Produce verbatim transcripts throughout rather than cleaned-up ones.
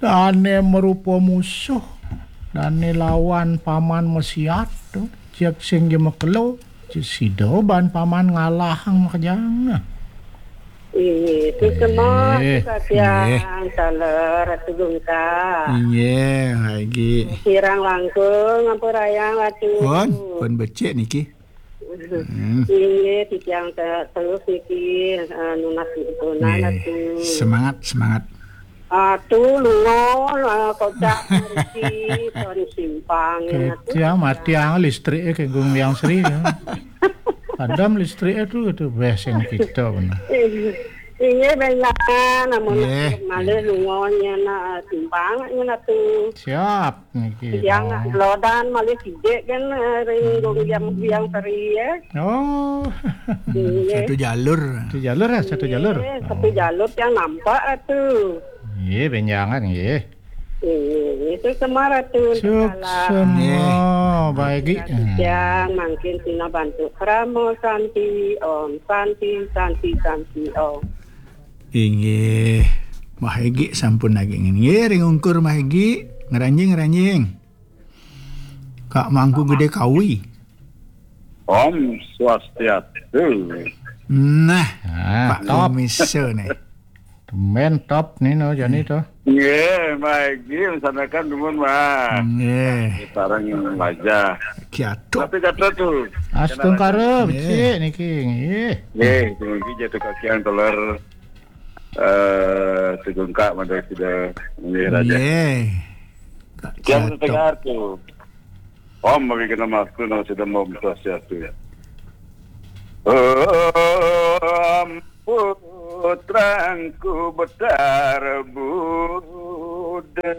Dane marupa musuh, dane lawan paman masiat to, jeg sing ja makelo, sida ban paman ngalahang makejang. Inggih, suksma, eh, katiang, inggih. Taler, Ratu Gungka. Inggih, Haji. Kirang langkung, ampurayang, Ratu. Pun, pun becik niki. Hmm. Inggih, titiang te-, terus niki, eh, nunas nunas, eh, Ratu. Semangat, semangat. Atu lungon, eh, kocak mriki, son simpang, Atu. Ketiang mati ang listrik, eh, ke Gung Liang Sri, ya. Padam listrik, eh, tu, tu, beseng kita, benar. Inggih, benjangan, amun malih lungon, ya, nak, simpang, ya, nak, tu. Siap. Niki, yang lodan malih sidik kan, eh, ring Gung Biang, Biang Seri, ya. Oh. Iya. Satu jalur. Satu jalur, ya, satu jalur. Iya, satu jalur yang nampak atuh. Iya, benjangan, iya. Iya, itu semua Ratu. Suksma, baik. Yang mungkin tina bantu kramo santi, om santi, santi, santi, om. Inggih, Mahegi sampun nagingin. Inggih, ring ungkur Mahegi, ngranjing, ngranjing. Kak Mangku Gede Kawi. Om Swastiastu. Nah, ah, Pak top. Kumiso nih. Temen top nih no, jani to. Nggih, Mahegi, misalkan dumun, Mas. Nggih. Sareng wajah. Kiatu. Tapi kata tuh. Astungkara, nggih. Becik niki, nggih. Nggih, dumugi jatuh kaki yang teler. Eh, Tugungka, mada sida nggih raja. Nggih. Kak Jam Jatok. Setengah tu. Om bagi kena maksud nama sida mom sosial tu. Om putrangku betar Buddha.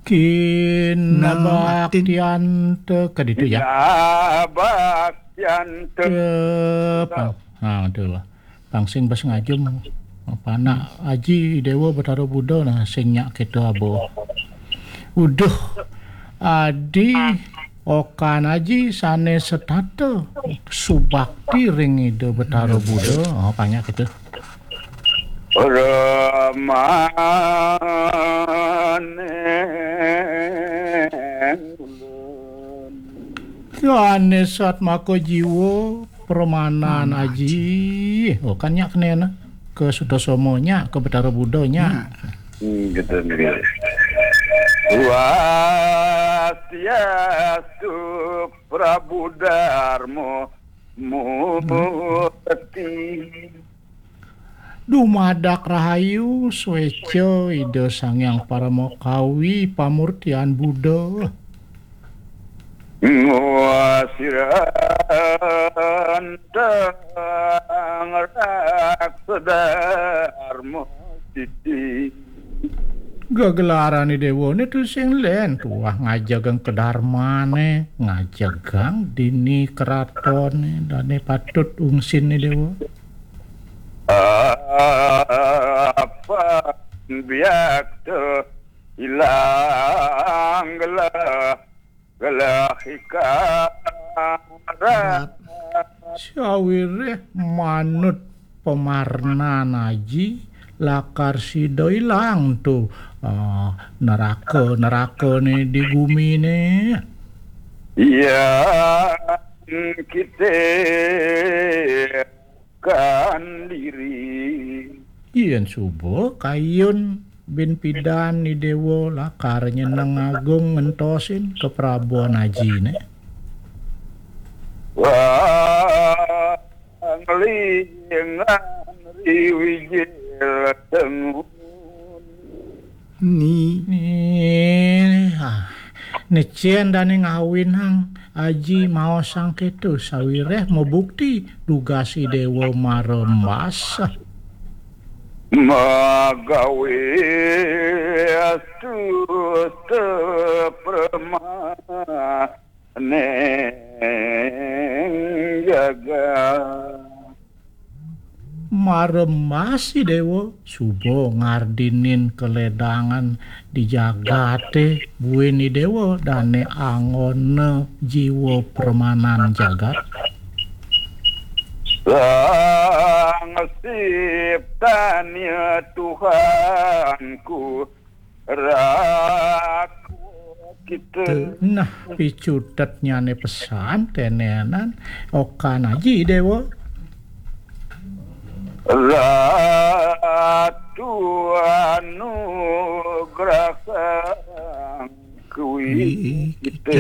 Kinabaktianta ke ditu, ya. Kinabaktianta. Ke pa-, ha, itulah. Pang sing bas ngajum, panak Aji Dewa Betara Buda nah, sing nyak kita abo. Uduh, adi okan aji sane setata subakti ring Ida Betara Buda. Oh, panyak kita. Ramane ulun. Yane satmaka jiwa pramanan aji. Oh, kan nyak kenena. Ke Sutasoma nyak, ke Betara Buda nyak. Hmm, gitu, gitu. Swastiastu Prabu Darma Murti. Dumadak rahayu sweca Ida Sang Hyang Paramakawi pamurtian Buddha. Ngwasirantang raksa dharma siti. Gegelarane dewane tu sing len tuah ngajegang kedarmane, ngajegang dini keratone, dane patut ungsine dewa. Apa biak tu ilang gelah, gelah ikara. Sawireh manut pamarnan aji lakar sida ilang tu, ah, neraka, nerakane di gumine. Iya, kita kan diri. Yen suba kayun bin pidan ni dewa lakar nyeneng agung ngentosin keprabuan ajine. Wah, nglingan riwijil tengun. Ni. Ni, ah, necen dane ngawinang aji maosang keto sawireh mabukti dugasi dewa marembas. Magawe astuta prama neng jagat. Marembasi dewa, suba ngardinin kaledangan di jagate buin i dewa, dane angona jiwa pramanan jagat. Sang siptane Tuhanku, Raku kita. Tuh, nah, picutetnyane pesan tenenan, okan aji, Dewa. Ratu anugerah sang kuwi kita.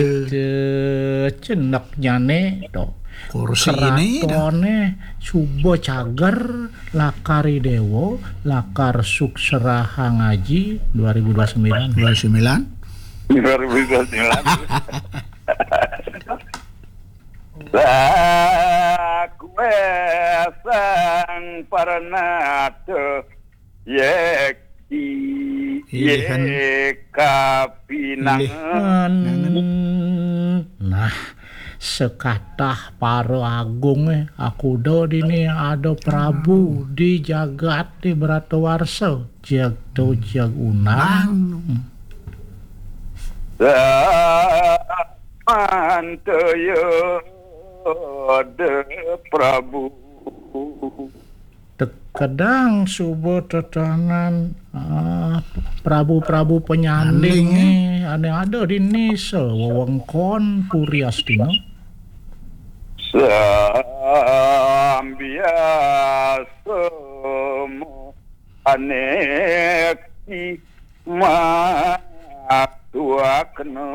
Ceneknyane to. Kursi ini to. Keratone suba cager, lakar Idewa, lakar sukseraha ngaji dua ribu dua sembilan. Dua sembilan. Dua ribu dua sembilan. Sakue sang parnata yekti. Ilihan. Yekapinangan. Ilihan. Nah, sekatah para agung, eh, akuda dini ada Prabu di jagat di Bratawarsa, jagto jag unang. Bang. Samantaya ada Prabu. Tekedang suba tetanan, ah, prabu-prabu penyanding. Penyanding, eh. Ane ada di nisa wewengkon Puri Astina. Sambiasa anekti matuakna.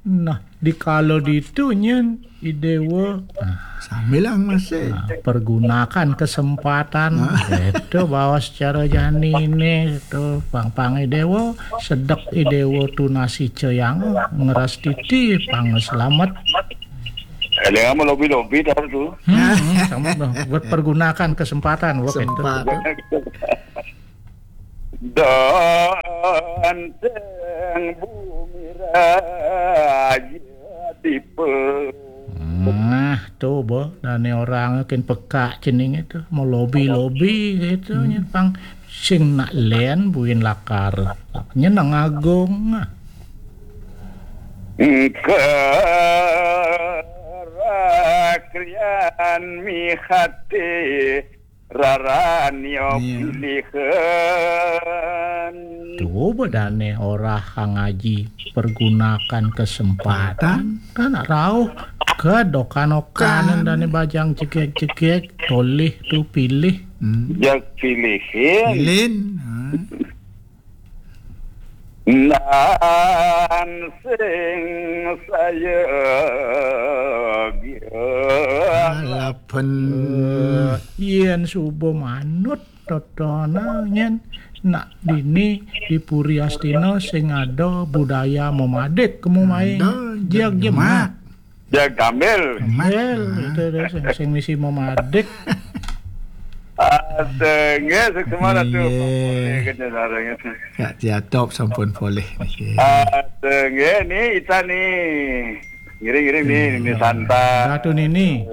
Nah, dikala ditu nyen Idewa, ah, sambilang masih. Nah, pergunakan kesempatan. Nah. Itu bawa secara janine itu pang-pang Idewa, sedek Idewa tunasi ceyang, ngeras titi pang selamat. Ada yang mau lobi-lobi dah tu. Hmm, hmm, sama dah. Buat pergunakan kesempatan, buat itu. Kesempatan. Danteng bumi raja dipe. Nah, to, bo, dane orang ken pekak cening itu, mau lobi-lobi gitu, hmm, nyepang sing nak len buin lakar. Nyeneng agung. Engke rakrian mihati rarani. Iya. Pilihan. Tuh, bedane ora ngaji pergunakan kesempatan. Kan rauh ke dokan-okanan. Kan. Dane bajang cekek-cekek, tolih tuh pilih. Hmm. Jak pilihin. Pilin. Hmm. Nan sing saya alapen. Eh, yen suba manut totona nyen nak dini di Puri Astina sing ada budaya memadik kemu main. Ada, jag jemak. Jemak. Jag gambel. Gambel, itu deh, sing, sing misi memadik. Ada nggih, sing semangat tu. Iya. Boleh kena sarang itu. Kak Jatop sampun polih niki. Ada nggih, ni Ita ni. Ngiring-ngiring ni, iya, ni Santa. Ratu Nini.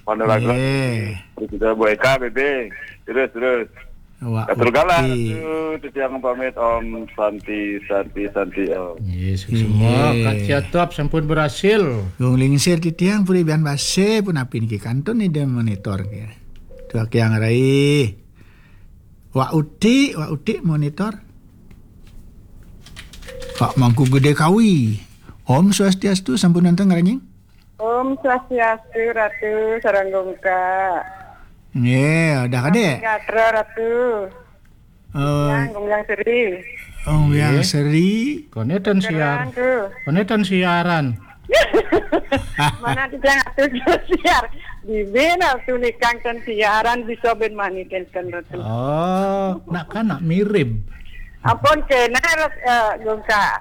Ponorogo. Iya. Terus kita Bu Eka, Bebe. Terus, terus. Wak Uti. Atur galah, Ratu. Titiang pamit, Om Santi, Santi, Santi, Om. Yes, semua. Iya. Kak Ciatop sampun berhasil. Gung Lingsir titiang puri bian base pun api niki kantun ni dia monitor ke. Tuak yang rai. Wak Uti, Wak Uti monitor. Pak Mangku Gede Kawi. Om Swastiastu, sampun nonton ngaranying? Om Swastiastu, Ratu, sareng Gungka. Nggih, udah kadek? Gatra, Ratu. Eh, Yang, Gong Yang Seri. Gong Yang Seri. Konetan siar. Konetan siaran. Mana titiang atur siar. Di bena tuh nikang ten siaran bisa ben mani ten ten, Ratu. Oh, nak kan nak mirip. Ampun kena, eh, Gungka.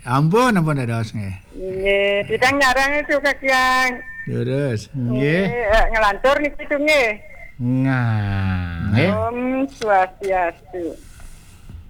Ampun, ampun dados nggih. Nggih, titiang nyarang itu, Kak Yang. Leres. Nggih. Nggih, eh, ngelantur niki tu nggih. Nah, nggih. Om Swastiastu.